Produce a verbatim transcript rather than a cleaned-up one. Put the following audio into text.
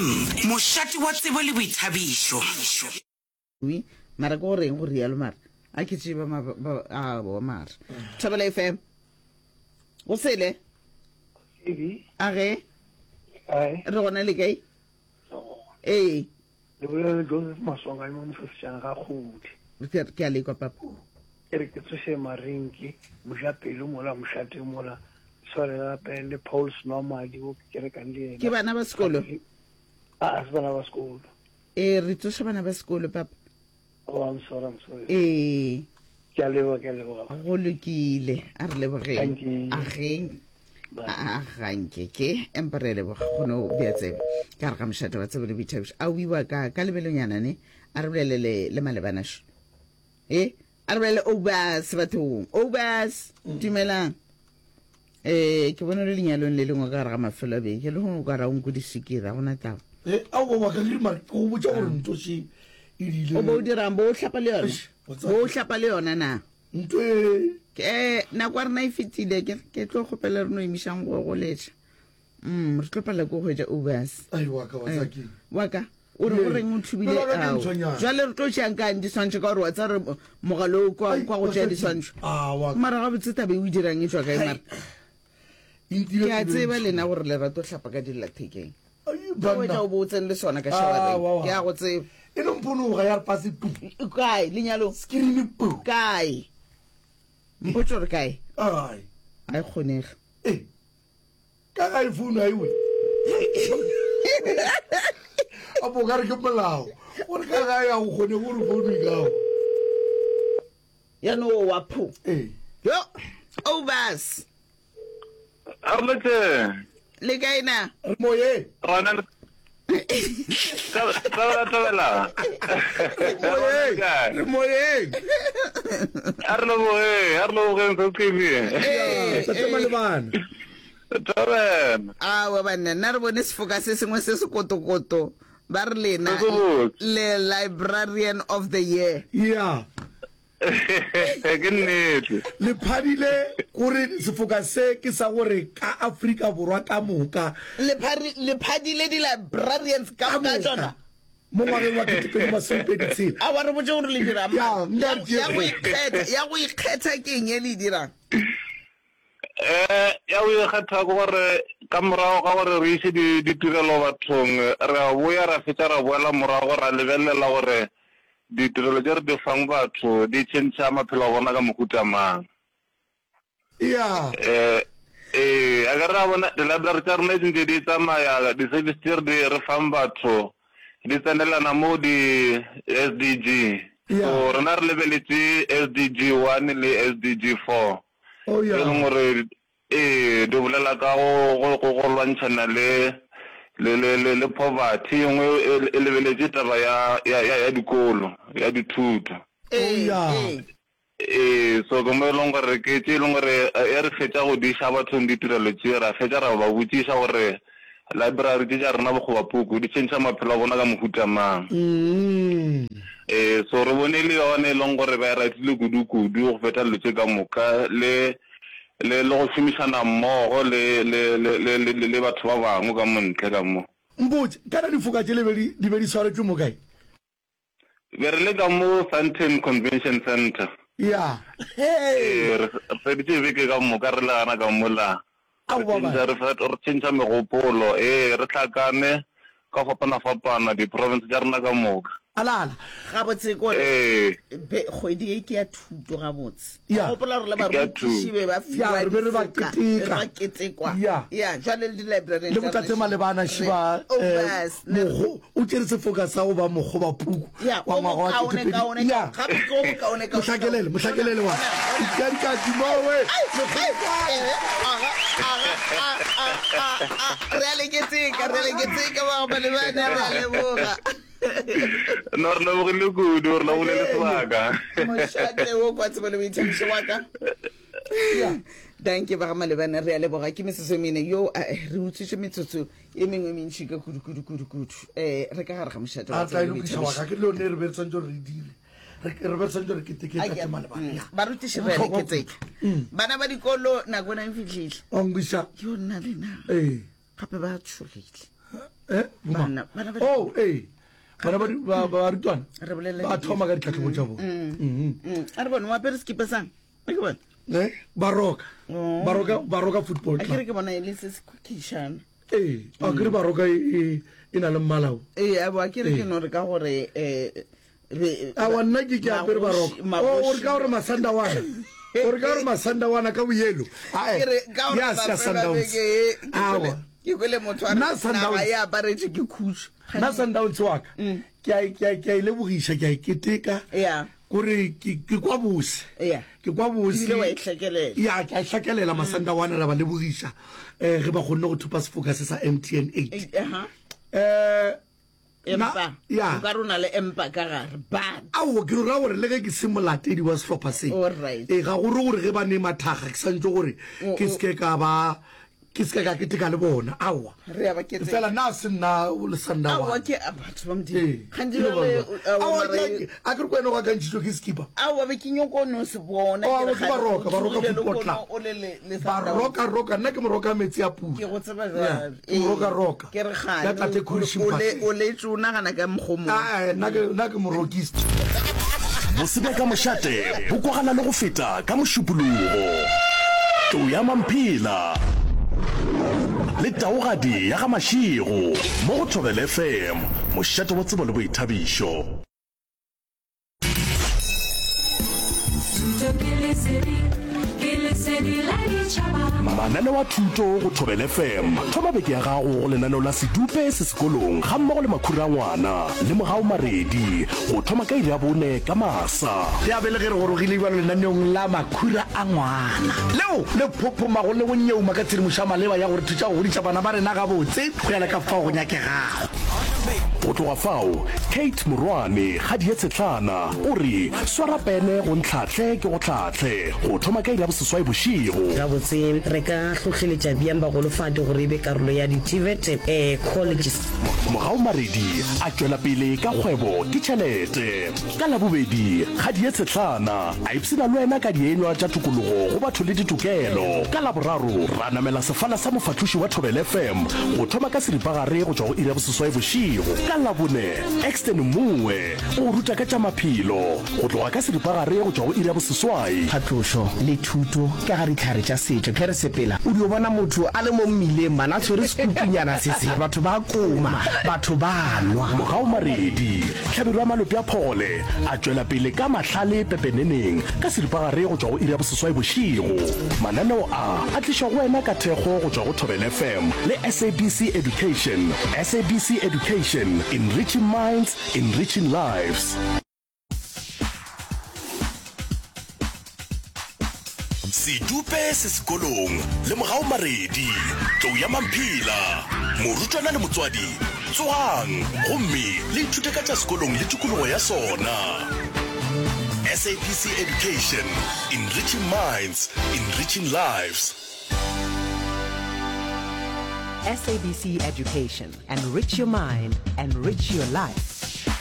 F M, mošate wa tsebo le boithabišo. Wi, mara ke go reng go rialo mara a ke tseba ma ba a bo mara Thobela F M go sele. Baby, a ge kae? Re gona, le kae? Ee. Le bolela le Joseph Maswanganyi mo mosesejana ga kgodi. Ke ke a lekwa, papa. Ke re ke tsoše Marinki, mojapelo mola mošate mola, tshware gape le Paul Senwamadi o ke kerekang le yena. Ke bana ba sekolo? A a se bana ba sekolo. Ee, re tsoša bana ba sekolo, papa. Oh, I'm sorry, I'm sorry. Ee. Ke a leboga, ke a leboga. Go lokile, a re lebogeng. Thank you. Ageng. Bye. A ganke ke empa re a leboga go no bea tsebe ka re ga mošate wa tsebo le boithabišo a wiwa ka ka lebelonyana ne a re bolelele le malebanašo e a re bolele obas bathong obas dumelang. um ke bone le lenyalong le lengwe ka gare ga mafelo a beke le gongwe ka ra o nko disikira gona taba. Eh, ao wa ka ke mara ke go botša gore ntho še e rile. O bo o dirang bo o hlapa le yona? Eish, wa tseba bo o hlapa le yona na? Ntho e Ke nako ya rena e fetile, ke ke tlo kgopela re no emišang go goletša. mm re tlo palela ke go hwetša obas. Ai wa ka wa tseba ke wa ka o re o Ee. reng o thubile? Pelo ya ka ke Ao. ntshonyana. Jwale re tlo tšeang kang diswantšho ka gore wa tseba re mogalo o kwa Ai, kwa go wa tšea tseba ke- diswantšho? Ah, wa ka. Mara gabotse tabe o dirang e tšwa kae mara? E ntile Ke a pelo e tseba ntšho. lena gore lerato hlapa ka dillathekeng. Ai, Ka wetša banna. o bo o tsene le sona ka Ah, showereng. wa, wa. Ke a go tseba. E no mponoga ya re pase pu. Kae lenyalong? Screen pu. Kae, mpotse gore kae? Ai. Ga e kgonege. Eh. Ka ga e phone ai we. A bo ka re ke molao. Gore ka ga ya go kgone gore phone e ka. Ya no wa pho. Eh. Yo obas. Arlete. Le kae na? Re moye. Rona le Tabela, tabela. Moyeng. Re moyeng. A re leboge, a re lebogeng se T V. Ee, Tate Malebana. Tabela. Awa banna, nna re bone sefoka se sengwe se se kotokoto ba re lena Se se botse. le Librarian of the Year. Yeah. Ke nnete. Le phadile gore sefoka se ke sa gore ka Afrika Borwa ka moka. Le phari- le phadile di-librarians ka Ka moka moka. tsona. Mo ngwageng wa ketepedi masomepedi tshela. A wa re botse gore le dirang. Ya, nka Ya- ya go ikgetha ya go ikgetha ke eng e le e dirang? Eh ya go ikgetha ke gore ka morago ga gore re ise di ditirelo bathong, re a boya ra fetša ra boela morago ra lebelela gore ditirelo tše re di fang batho di tšhentšha maphelo a bona ka mohuta mang. Ya. Eh eh a ka re a bona di-library tša rena di ntse di tsamaya, di-service tše re di re fang batho di tsenelana mo di S D G. Ya. So rena re lebeletše S D G one le S D G four Oh e ya. leng gore ee di bolela ka go go go go lwantšhana le le le le le poverty, e nngwe e e lebeletše taba ya ya ya ya dikolo, ya dithuto. Oh ee ya. ee Ee, so ke mo e leng gore ke tše e leng gore e re fetša go diša bathong ditirelo tše, ra fetša ra ba botšiša gore library tše tša rena, bokgobapuku, di tšhentšha maphelo a bona ka mohuta mang. Mm. Ee, so re bone le yona e leng gore ba e ratile kudu-kudu go feta dilo tše ka moka, le le le go šomišana mmogo le le le le le le batho ba bangwe ka mo ntle ka mo. Mpotse, kana difoka tše le be di di be di swaretšwe mo kae? Be re le ka mo Sandton Convention Center. Ya. Hey. Ee, re re feditše beke ka moka re le gana ka mola. Re Aowa tšhentšha ba. re fe- re tšhentšha megopolo, ee re hlakane ka fapana-fapana di-province tša rena ka moka. Alala. Gabotse kore Ee. be kgwedi e ke ya thuto gabotse. Ya. Gopola gore le Ke ya barutiši thuto. be ba Ya, fiwa re be re ba difoka, keteka. re ba ketekwa. Ya. Ya, jwale le di-librarian Le tša botate rena Malebana re šiba eh, obas ne mogo o tšere sefoka sa go ba mokgobapuku ya wa o ngwaga wa mokaone ketepedi. kaone Ya. gape ke o mokaone kaone. Mohlakelele, mohlakelele wa. Ikadikadi mowe. Ai, ai, eh, aga, aga, a, a, a, a. Re a le keteka, re a le keteka ba ga Malebana, re a leboga. No, re lebogile kudu, re lebogile le sebaka. Mošate wo kwa tsebo le boithabišo wa ka. Danke ba ga Malebana, re a leboga. Ke metsotso e mene yo eh, re utswitše metsotso e mengwe e mentšhi ka kudu kudu kudu kudu. um re ka gare ga mošate wa A tla e tsebo le lokiša wa boithabišo. ka ke le yone re be re tshwanetse gore re dire. Re re be re tshwanetse gore keteke Ai, tate Malebana. mm, Ya. Barutiši Go re a le bohlokwa keteka. kudu. Bana ba dikolo nako ena e fihlile. Wa nkweša. Yo nna lena Ee. gape ba tshogile. Eh, boma. Bana- bana ba Oh, ee. Bana ba di- ba ba barutwana. Re bolela Ba di- thoma ka ditlhatlhobo tša bona. Mhm. Mm, a re bone o apere sekipa sang a ke bone Eh, Baroka. Oh. Baroka Baroka football a kere club. ke bona e le se se khukhišana Ee, a kere Baroka e e- e na le mmala o. ee a bo a kere ke Ee. no re ka gore um Awa nna ke ke apere Baroka. O o re ka gore Masandawana. O re ka gore Masandawana ka boyelo. Ae. Ya se ya Sundowns. Awa. ke kwele motho a re Nna Sundowns. naga e aparetše ke khutšo Nna Sundowns wa ka. Ke a ke a ke a e lebogiša, ke a e keteka. ya Kore ke ke kwa bose. ya Ke kwa bose. ebile wa e hlekelela Ya ke a e hlakelela Masandawana ra ba lebogiša. Eh ge ba kgonne go thopa sefoka se sa M T N eight. Eh, aha. Eh empa Na- ya. o ka re o na le empa ka gare but Aowa ke ra gore le ge ke se molatedi wa sehlopha se. Alright. Ee ga gore gore ge ba ne mathakga ke santse gore O- ke seke ka ba ke seke ka keteka le bona. Aowa. re ya ba kete Fela nna se nna o le aowa Sandawana. ke a batho ba modimo Ee. gantsi jale Aowa, ke- a ke re ko wena o akantšhitšwe ke skipa. aowa be ke nyoko no se bona Oh, ke re ke Baroka, gane o Baroka tsogile Football lehono Club. o le le- le Sundowns. Baroka roka nna ke moroka metsi a pula. ke go tseba Yeah, jwale ke moroka roka. ke re Ya tate gane Khulishi o le- Mphahlele. o letse o nagana ka mokgo mongwe Ah, eh, nna ke nna ke morokist. Bosebe ka mošate bo kwagala le go feta ka mošupologo. Tlou ya Mamphela le taogadi ya ga Mashego mo go Thobela F M, mošate wa tsebo le boithabišo. Thuto ke lesedi, ke lesedi la ditšhaba. Mananeo a thuto go Thobela F M. Thoma beke ya gago go lenaneo la Sedupe se sekolong ga mmogo le Makhura a ngwana le Mogau Maredi go thoma ka iri ya bone ka masa. Ya be le ge re gorogile bjalo lenaneong la Makhura a ngwana leo le phophomago le go nyeuma ka tshedimošo ya maleba ya gore thuša go godiša bana ba rena gabotse go ya le ka fao go nyakegago. Go tloga fao, Kate Morwane Kgadi ye Tshetlana o re swara pene go ntlhahle ke go tlhahle go thoma ka iri ya boseswai bošego. Gabotse re ka hlohleletša bjang bagolofadi gore e be karolo ya di-T V E T eh, colleges. Mogau Maredi a tšwela pele ka kgwebo ke tšhelete. Ka Labobedi, Kgadi ye Tshetlana a ipshina le wena ka dienywa tša tokologo go batho le ditokelo. Ka Laboraro, ra namela sefala sa mofahloši wa Thobela F M go thoma ka seripagare go tšwa go iri ya boseswai bošego. Ka Labone, Exton Mongwe o ruta ka tša maphelo go tloga ka seripagare go tšwa go iri ya boseswai. Phatlošo le thuto ka ga ditlhare tša setšo. Ge re sepela o dio bona motho a le mo mmileng mana a tshwere sekutunyana se se, batho ba koma, batho ba nwa. Mogau Maredi, Hlabirwa ya Malope a Phogole a tšwela pele ka mahlale pepeneneng ka seripagare go tšwa go iri ya boseswai bošego. Mananeo a a tlišwa go wena ka thekgo go tšwa go Thobela F M le S A B C Education. S A B C Education, enriching minds, enriching lives. Sedupe se sekolong le Mogau Maredi, Tlou ya Mamphela, morutwana le motswadi, tsogang gomme le ithute ka tša sekolong le tikologo ya sona. S A B C Education, enriching minds, enriching lives. S A B C Education, enrich your mind, enrich your life.